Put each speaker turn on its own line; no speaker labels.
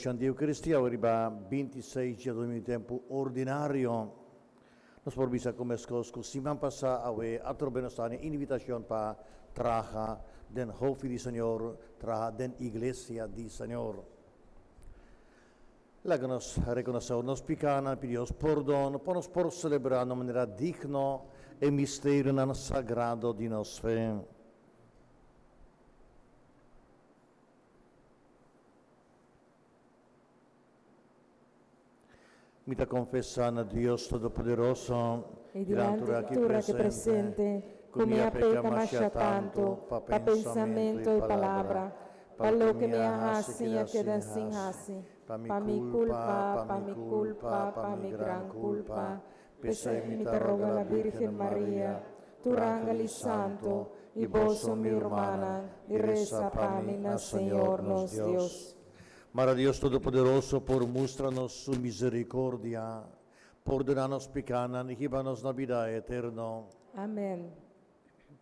Selebrashon di Eukaristia awe riba 26 djadumingu tempu ordinario. Nos por bisa ku meskos ku siman pasá awe atrobe nos ta haña invitashon pa traha den hofi di Señor, traha den iglesia di Señor. Laga nos rekonosé nos pikánan, pidi Dios pordon pa nos por selebrá na un manera digno e misterionan sagrado di nos fe. Mi ta konfesá na Dios Todopoderoso
i dilanti di tur aki presente, ku mi a peka masha tantu pa pensamentu i palabra, pa loke mi a hasi i a keda sin hasi, pa mi kulpa, pa mi kulpa, pa mi gran kulpa. P'esei mi ta roga la Bírgen Maria, tur angel i santu, i boso, mi rumannan, di resa pa mi na Señor nos Dios.
Mara Dios Todopoderoso por mustra nos su misericordia, pordona nos picanan y hiba nos na bida eterno.
Amén.